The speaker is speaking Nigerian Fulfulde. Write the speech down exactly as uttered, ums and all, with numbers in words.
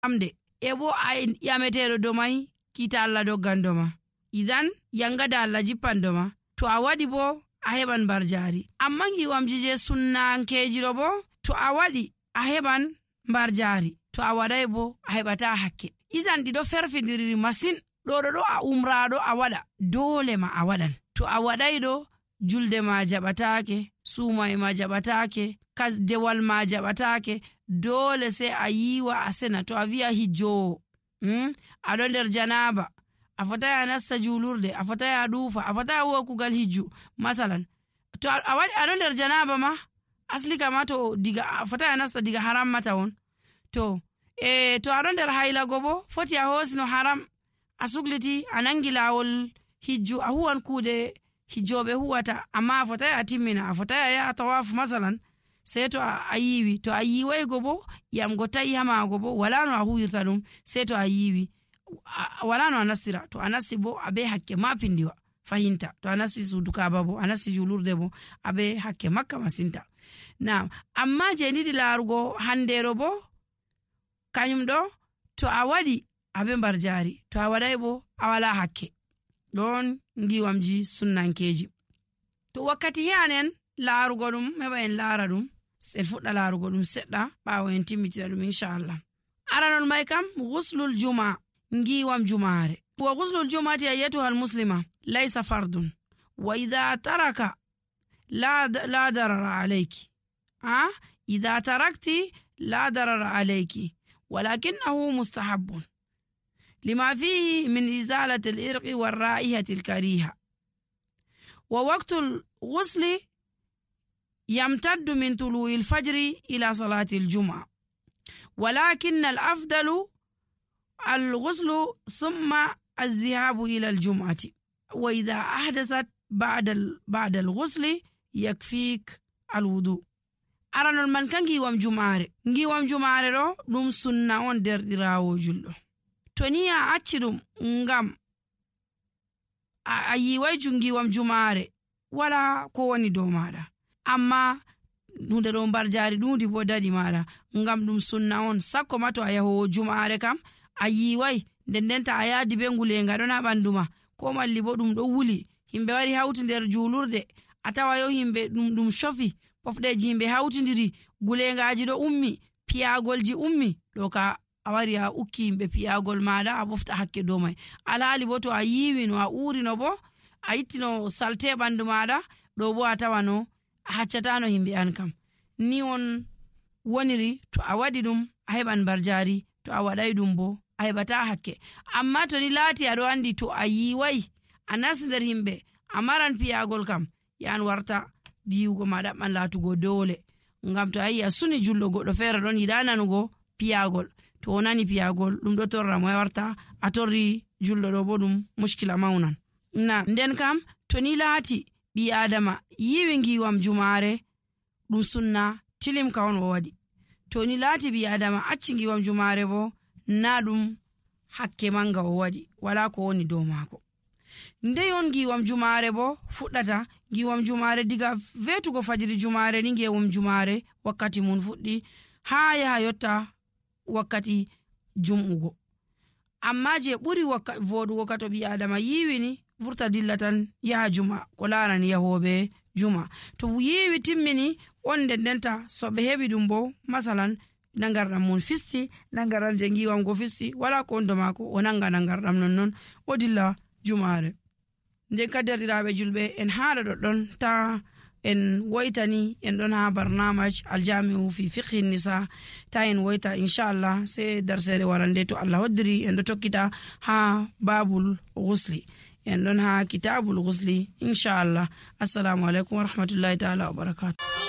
amde e bo a yameteɗo do mai kita Allah doggando ma, idan yangada Allah jippando ma. To a waɗi bo a heɓan barjari. Amma ngiwamji je sunnankeji ɗo bo to a waɗi a heɓan barjari, to a waɗai bo a heɓata hakke. Izan ɗiɗo ferfidiri masin. ɗo ɗo ɗo a umraɗo a waɗa dole ma a waɗan. To a waɗai ɗo julde ma jaɓatake, sumai ma jaɓatake, kasdewal ma jaɓatake, dole sai a yiwa a sena. To a wi'a hijjowo hmm? aɗo nder janaba, a fotai a nasta julurde, a fotai a ɗufa, a fotai a huwa kugal hijju masalan. To a waɗi aɗo nder janaba ma asli kama to diga a fotai a nasta diga haram mata won. To e to aɗo nder hailago bo foti a hosino haram, a sugliti a nangi lawol hijju, a huwan kuɗe hijjoɓe huwata, amma a fotai a timmina, a fotai a yaha tawafu masalan. Sai to a yiwi, to a yiwai go bo yamgo tayi hamago bo wala no a huwirta ɗum. Sai to a yiwi wala no a nastira, to a nasti bo abe hakke ma pindiwa fahinta. To a nasti sudu Kaaba bo a nasti julurde bo abe hakke makka masinta. Na amma je ndiɗi larugo handero bo kanyum ɗo to a waɗi abe barjari, to a waɗai bo a wala hakke. Ɗon ngiwamji sunnankeji. To wakkati hi'anen larugo ɗum heɓa en lara ɗum, sen fuɗɗa larugo ɗum seɗɗa ɓawo en timmitita ɗum inchallah. Aranon mai kam ghuslul juma, ngiwam jumare. Wa ghuslul jumati ayyatuha almuslima laysa fardun wa idha taraka la la darara alayki. Ha idha tarakti la darara alayki walakinahu mustahabbun lima fihi min izalati al-irqi war-ra'ihati al-kariha. Wa waqtul ghusli يمتد من طلوع الفجر إلى صلاة الجمعة، ولكن الأفضل الغسل ثم الذهاب إلى الجمعة. وإذا أحدثت بعد بعد الغسل يكفيك الوضوء. أرانا من كان جيوام جمعة جيوام جمعة رو نم سنة وندر دراو جلو تونيا أتشرم نعم أيوة جيوام جمعة ولا كوني دومارا. Amma hunde ɗo barjari ɗundi bo dadi maɗa ngam ɗum sunna on. Sakko ma to a yahowo jumare kam a yiwai nden denta a yadi be ngulenga ɗon ha ɓandu ma, ko malli bo ɗum ɗo wuli, himɓe wari hauti nder julurde, a tawa yo himɓe ɗum ɗum shofi, pofɗeji himɓe hautidiri, gulengaji ɗo ummi, piyagolji ummi, ɗo ka a wari a ukki himɓe piyagol maɗa a ɓofta hakke dow mai. Alhali bo to a yiwino a urino bo a ittino salte ɓandu maɗa, ɗo bo a tawano a haccatano himɓe an kam. Ni on woniri to a waɗi ɗum a heɓan barjari, to a waɗai ɗum bo a heɓata hakke. Amma to ni laati aɗo andi to a yiwai a nasti nder himɓe a maran piyagol kam, yan warta yiwugo ma ɗaɓɓan laatugo dole. Ngam to a yi a suni julɗo goɗɗo feere ɗon yiɗa nanugo piyagol, to o nani piyagol ɗum ɗo torra mo, warta a torri julɗo ɗo bo ɗum muskila maunan. Na nden kam to ni laati ɓi adama yiwi ngiwam jumare ɗum sunna tilim ka on o waɗi. To ni laati ɓi adama acci ngiwam jumare bo na ɗum hakke manga o waɗi, wala ko woni dow mako. Nde on ngiwam jumare bo fuɗɗata, ngiwam jumare diga vetugo fajiri jumare ni ngewum jumare wakkati mun fuɗɗi ha yaha yotta wakkati jum'ugo. Amma je ɓuri voɗugo ka to ɓi adama yiwini vurta dillatan yaha juma ko larani yahoɓe juma. To yiwi timmini on nden denta so ɓe heɓi ɗum bo masalan nangarɗam mun fisti, nangarɗam je ngiwam go fisti, wala ko ondo mako o nanga nangarɗam nonnon o dilla jumare. Nden ka derɗiraɓe julɓe en haɗa ɗoɗɗon ta en woitani en ɗon ha barnamaj aljami'u fi fiqhi nisa, ta en woita inchallah sai darsere warande to Allah hoddiri en ɗo tokkita ha babul ghusli, en ɗon ha kitabul ghusli inchallah. Assalamu alaikum wa rahmatullahi ta'ala wa barakatuh.